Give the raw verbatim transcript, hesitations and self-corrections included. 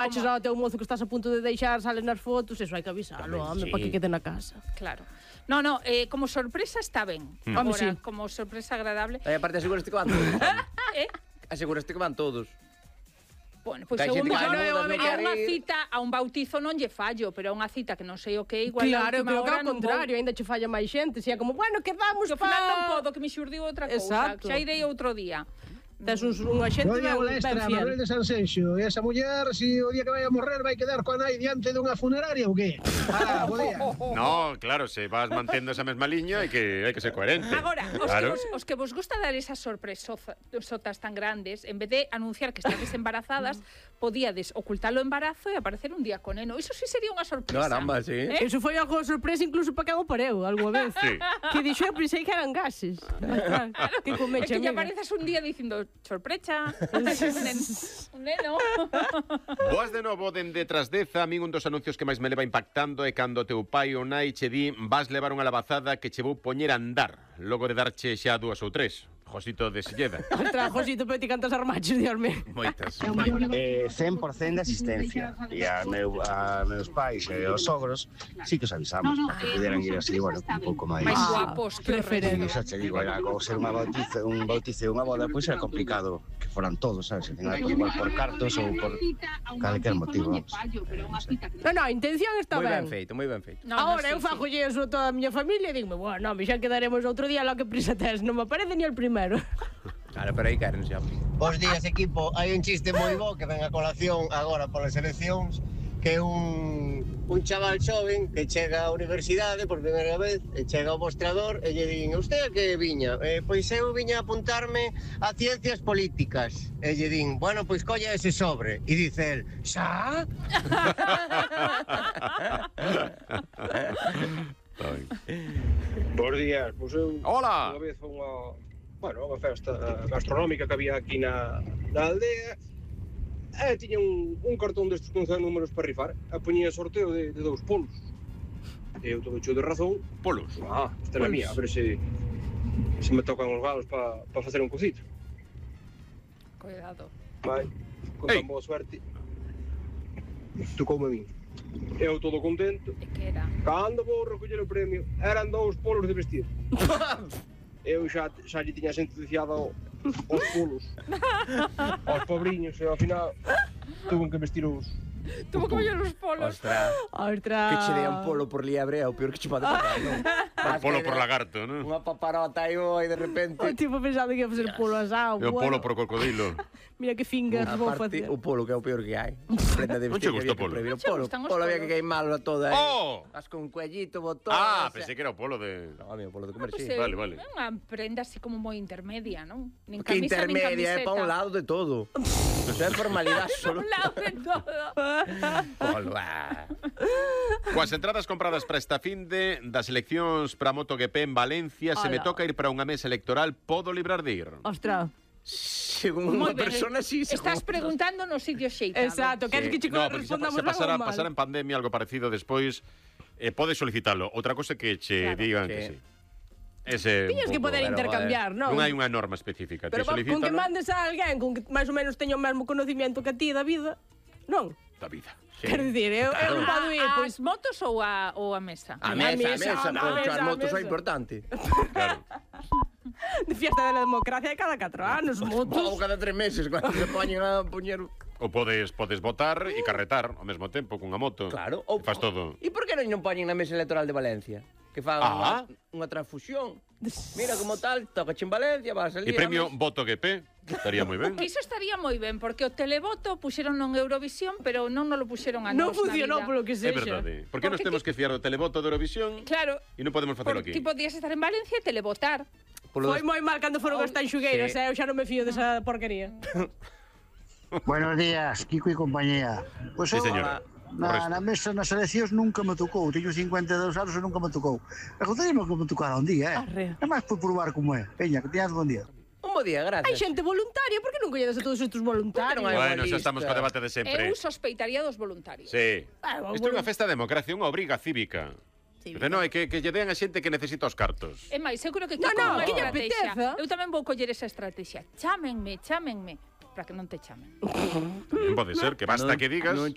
Aches ao teu mozo que estás a punto de deixar, salen nas fotos, eso hai que avisalo, home, para que quede na casa. Claro. No, no, eh, como sorpresa está ben. Mm. Home, sí. Como sorpresa agradable. E aparte aseguraste que van todos. Eh? Aseguraste que van todos. Bueno, pois Hai eu xente que mellor vai a bodas, non quere unha ir. cita, a un bautizo non lle fallo, pero a unha cita que non sei o que, igual Claro, a última pero que hora ao non contrario, ainda che falla máis xente, si é como, bueno, quedamos Que ao pa... final non podo, que me xurdiu outra cousa. Exacto. Xa irei outro día. Tes uns, unha xente Doña ben, Molestra, ben fiel. Manuel de Sanxenxo. E esa muller, si o día que vai a morrer, vai quedar coa nai diante dunha funeraria ou que? Ah, bo día. No, claro, se vas mantendo esa mesma liña hai que hai que ser coherente. Agora, os, claro. que vos, os que vos gusta dar esas sorpresotas tan grandes, en vez de anunciar que estades embarazadas, podíades ocultar o embarazo e aparecer un día con eno. Iso sí sería unha sorpresa. Caramba, sí. Eh? Eso foi algo sorpresa incluso para que o pareu, alguna vez. Sí. Que dixo, eu pensei que eran gases. Que É comeche, que lle amiga. apareces un día dicindo, sorpresa, un nen- un neno. Boas de novo dende Trasdeza. A min un dos anuncios que máis me leva impactando é cando teu pai ou nai che di vas levar unha lavazada que che vou poñer a andar, logo de darche xa dúas ou tres. Josito de Silleda. Ostras, Josito, pero ti cantas armachos, Dios mío. Moitas. Eh, cen por cento de asistencia. E a, meu, a meus pais e aos sogros sí que os avisamos para que pudieran ir así, bueno, un pouco máis. Máis Ah, guapos que o preferente. E xa che digo, era como ser unha bautizo, un bautizo e unha boda, pois era complicado que foran todos, sabes? Se tenga que igual por cartos ou por calquer motivo, vamos. No, no, a intención está Moi ben ben. feito, moi ben feito. No, Ahora no, eu sí, fago sí. eso a toda a miña familia e digo, bueno, me xa quedaremos outro día, lo que prisa tes, non me aparece ni el primero. Claro, pero aí queren xa. Bos días, equipo. Hai un chiste moi bo que ven a colación agora polas eleccións, que é un, un chaval xoven que chega á universidade por primeira vez e chega ao mostrador e lle din, usted a que viña? Eh, pois eu viña a apuntarme a ciencias políticas. E lle din, bueno, pois colla ese sobre. E dice el, xa? Bos días, pois eu Hola. unha vez foi unha, bueno, unha festa gastronómica que había aquí na, na aldea e tiña un, un cartón destes con cen números para rifar e poñía sorteo de, de dous polos e eu todo hecho de razón Polos. ah, esta é a mía, a ver se se me tocan os galos para pa facer un cocito Cuidado. vai, con Ei. tan boa suerte tocoume a min eu todo contento. É que era. Cando vou recoller o premio, eran dous polos de vestir. Eu xa, xa lle tiña sentenciado os polos aos pobriños e ao final tuve que vestir os... Tuvo que coller os polos. Ostras, Ostras. que che dea un polo por liebre é o peor que che pode pasar, non? Un polo por lagarto, non? Unha paparota aí e de repente... O tipo pensando que ia facer polo asado. E o polo por cocodilo. Mira que fingers vou Aparte, facer. o polo que é o peor que hai. Prenda de Non che vestir que gusta había o polo? que prohibir. O Non che polo, gustan os polo había polos? que queimarlo todo aí. Oh! As con cuellito, botón... Ah, esa- pensei que era o polo de... No, amigo, polo de comer, Pois sí. é, Vale, vale. É unha prenda así como moi intermedia, non? Nin Que camisa, nin intermedia, é camiseta. pa un lado de todo. Eso é formalidade Pa solo. un lado de todo. Polo, ah. Coas entradas compradas para esta finde das eleccións para MotoGP en Valencia, se me Ala. toca ir para unha mesa electoral, podo librar de ir. Ostras. Según Moi unha ben. persona, sí. según Estás outra. preguntando no sitio xeitado. Exacto, queres que che No, porque se, respondamos se pasara, algo mal? pasara en pandemia algo parecido despois, eh, podes solicitalo. Outra cosa que che Claro. digan Que- que sí. Ese Tiñas un que pouco- poder pero, intercambiar, non? Non hai unha norma específica. Pero Te va- con que solicítalo mandes a alguén con que máis ou menos teña o mesmo conocimiento que a ti da vida, non? da vida. Sí. Quero dicir, eu, eu non podo ir, A, pois... as motos ou a, ou a mesa? A A mesa, a mesa, mesa, a porque mesa, as a motos mesa. son importante. Claro. De fiesta da democracia de cada catro anos, Ou motos. cada tres meses, cando se poñen a poñer... Ou podes podes votar e carretar ao mesmo tempo cunha moto. Claro. Ou, Faz todo. E por que non non poñen na mesa electoral de Valencia? Que fagan Ah. unha, unha transfusión. Mira como tal, toca en Valencia, vas a salir... E premio Voto G P, estaría moi ben. Iso estaría moi ben, porque o televoto puxeron en Eurovisión, pero non nos lo puxeron a Non nós funcionou na vida. polo que É sexa. verdade. Por que nos Porque temos que fiar do televoto de Eurovisión Claro, e non podemos facelo porque aquí? ti podías estar en Valencia e televotar. Polo Foi moi mal cando foron Oh, as tanxugueiras, sí. eh? Eu xa non me fío desa porquería. Buenos días, Kiko e compañía. Pois Sí, eu, señor. na, na mesa nas eleccións nunca me tocou. Teño cincuenta e dous anos e nunca me tocou. E gostaríame que me tocara un día, eh? Arre. É máis por probar como é. Peña, que teñas bon día. Un bo día, Hai gracias. xente voluntaria, por que non colledes a todos estes voluntarios? non hai Bueno, unha xa estamos lista. co debate de sempre. Eu sospeitaría dos voluntarios. Sí. Ah, Isto é unha bueno. festa de democracia, unha obriga cívica. Sí, Pero non, é que, que lle den a xente que necesita os cartos. É máis, eu creo que No, Kiko no, unha que lle estrategia. apeteza. Eu tamén vou coller esa estrategia. Chámenme, chámenme, para que non te chamen. Non pode ser, que basta Non- que digas. Non